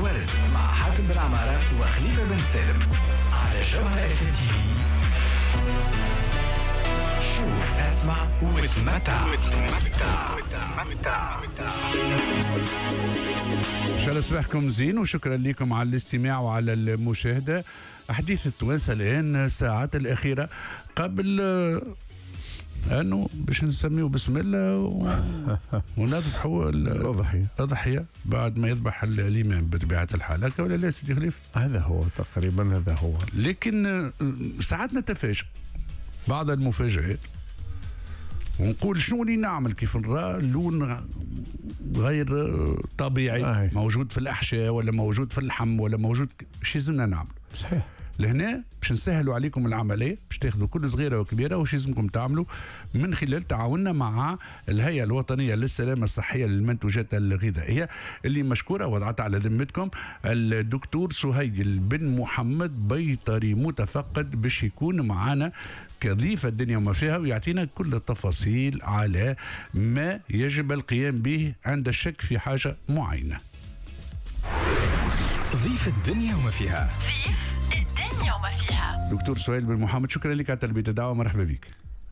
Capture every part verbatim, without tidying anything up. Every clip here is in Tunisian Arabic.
الورد مع حاتم بن عمارة وخليفة بن سالم على جوهرة اف ام تي في. شوف، اسمع وتمتع وتمتع وتمتع. ان شاء الله صباحكم زين وشكرا لكم على الاستماع وعلى المشاهده. احاديث التوانسة الان الساعات الاخيرة قبل انه باش نسميه بسم الله و... ونذبحوا الاضحيه. الاضحية بعد ما يذبح الامام بطبيعة الحال، هكا ولا لا سيدي خليفة؟ هذا هو تقريبا، هذا هو. لكن ساعات نتفاجئ بعض المفاجآت ونقول شنو اللي نعمل كيف نرى لون غير طبيعي آه. موجود في الاحشاء ولا موجود في اللحم ولا موجود، شو لازمنا نعمل؟ صحيح. لهنا باش نسهلوا عليكم العملية، باش تاخذوا كل صغيرة وكبيره وش لازمكم تعملوا من خلال تعاوننا مع الهيئة الوطنية للسلامة الصحية للمنتوجات الغذائية اللي مشكورة وضعت على ذمتكم الدكتور سهيل بن محمد، بيطري متفقد، باش يكون معنا كضيف الدنيا وما فيها ويعطينا كل التفاصيل على ما يجب القيام به عند الشك في حاجة معينة. ضيف الدنيا وما فيها. الدنيا وما فيها. دكتور سهيل بن محمد، شكرا لك على تلبية الدعوة، مرحبا بك.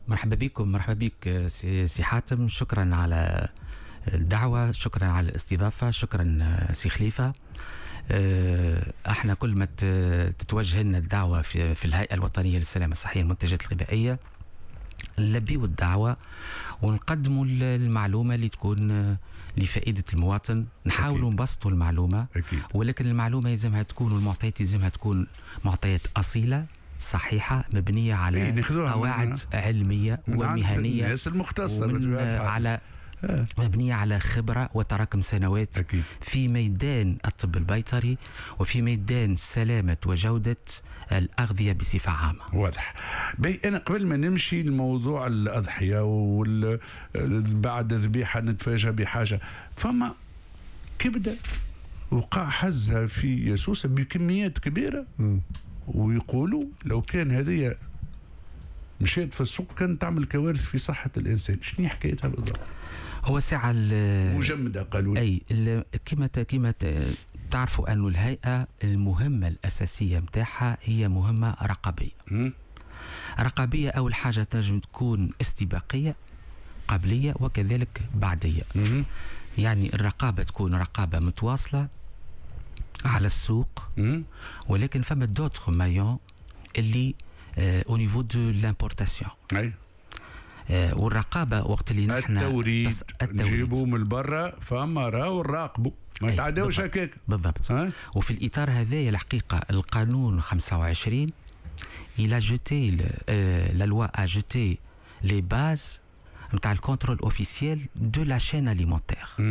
مرحبا بكم، مرحبا بك سي, سي حاتم، شكرا على الدعوة، شكرا على الاستضافة، شكرا سي خليفة. احنا كل ما تتوجه لنا الدعوة في, في الهيئة الوطنية للسلامة الصحية للمنتجات الغذائية نلبيو الدعوة ونقدموا المعلومة اللي تكون لفائدة المواطن، نحاولوا نبسطوا المعلومة. أكيد. ولكن المعلومة يلزمها تكون والمعطيات يلزمها تكون معطيات أصيلة صحيحة مبنية على إيه قواعد من علمية من ومهنية الناس المختصة على آه. مبنية على خبرة وتراكم سنوات. أكيد. في ميدان الطب البيطري وفي ميدان سلامة وجودة الأغذية بصفة عامة. واضح. بي أنا قبل ما نمشي لموضوع الأضحية وال بعد ذبيحة نتفاجأ بحاجة، فما كبدة وقع حزها في سوسة بكميات كبيرة. م. ويقولوا لو كان هذه مشيت في السوق كانت تعمل كوارث في صحة الإنسان. شنو حكايتها بالضبط؟ هو ساعة مجمدة قالوا. أي كما كما تعرفوا أن الهيئة المهمة الأساسية متاعها هي مهمة رقابية. م? رقابية أول حاجة تنجم تكون استباقية قبلية وكذلك بعدية. م? يعني الرقابة تكون رقابة متواصلة على السوق. م? ولكن فما d'autres maillons اللي au niveau de l'importation. اي والرقابه وقت اللي نحن التوريد نجيبوه من برا فما راهو نراقبوا ما يتعداوش هكاك. بالضبط. أه؟ وفي الاطار هذايا الحقيقة القانون خمسة وعشرين il a jeté la loi a jeté les bases نتاع ال contrôle officiel de la chaîne alimentaire،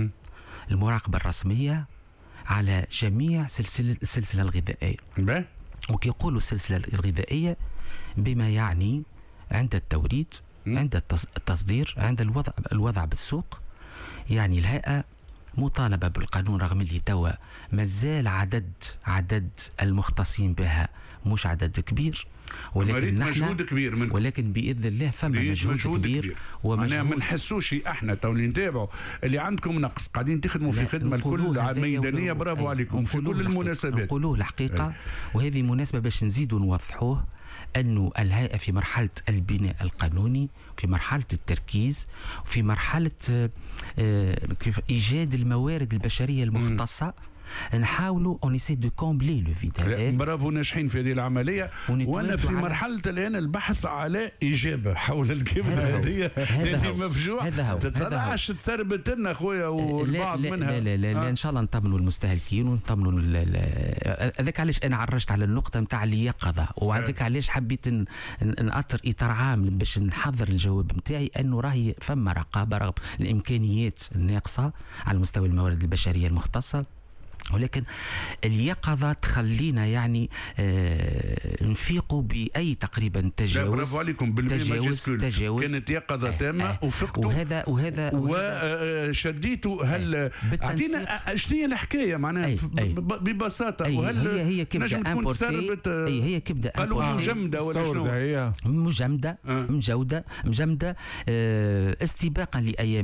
المراقبة الرسمية على جميع سلسلة السلسلة الغذائية. باهي. وكي يقولوا السلسلة الغذائية بما يعني عند التوريد، عند التصدير، عند الوضع الوضع بالسوق. يعني الهيئة مطالبة بالقانون رغم اللي توا مازال عدد عدد المختصين بها مش عدد كبير، ولكن نحن مجهود كبير منكم. ولكن باذن الله فما مجهود, مجهود كبير, كبير. ومجهود ما نحسوش احنا تو اللي نتابعوا اللي عندكم نقص، قاعدين تخدموا في خدمة الكل ميدانية، برافو عليكم في كل المناسبات. نقولوه الحقيقة، وهذه مناسبة باش نزيدوا نوضحوه انه الهيئة في مرحلة البناء القانوني، في مرحلة التركيز، في مرحلة ايجاد الموارد البشرية المختصة. نحاولوا on essaie de combler le vide. برافو، ناجحين في هذه العملية. وانا في مرحلة الان البحث على اجابه حول الكبده هذه اللي مفجوع تطلعش تسربت لنا خويا والبعض لا منها. لا لا, لا, لا آه. ان شاء الله نطمنوا المستهلكين ونطمنوا هذاك علاش انا عرجت على النقطة نتاع اليقظة، وهذاك علاش حبيت نأطر اطار عام باش نحضر الجواب نتاعي انه راهي فما رقابه رغم الامكانيات الناقصة على مستوى الموارد البشرية المختصة، ولكن اليقظة تخلينا يعني آه نفيقوا بأي تقريبا تجاوز. برافو عليكم تجاوز تجاوز كانت يقظة تامة آه وفقتوا وهذا وهذا وشديتوا. هل اعطينا شنو هي الحكاية معناها ببساطة؟ أي وهل هي هي كبدة importée؟ أي هي كبدة قالوا مجمدة ولا شنو؟ هي مجمدة مجودة مجمدة آه استباقا لأيام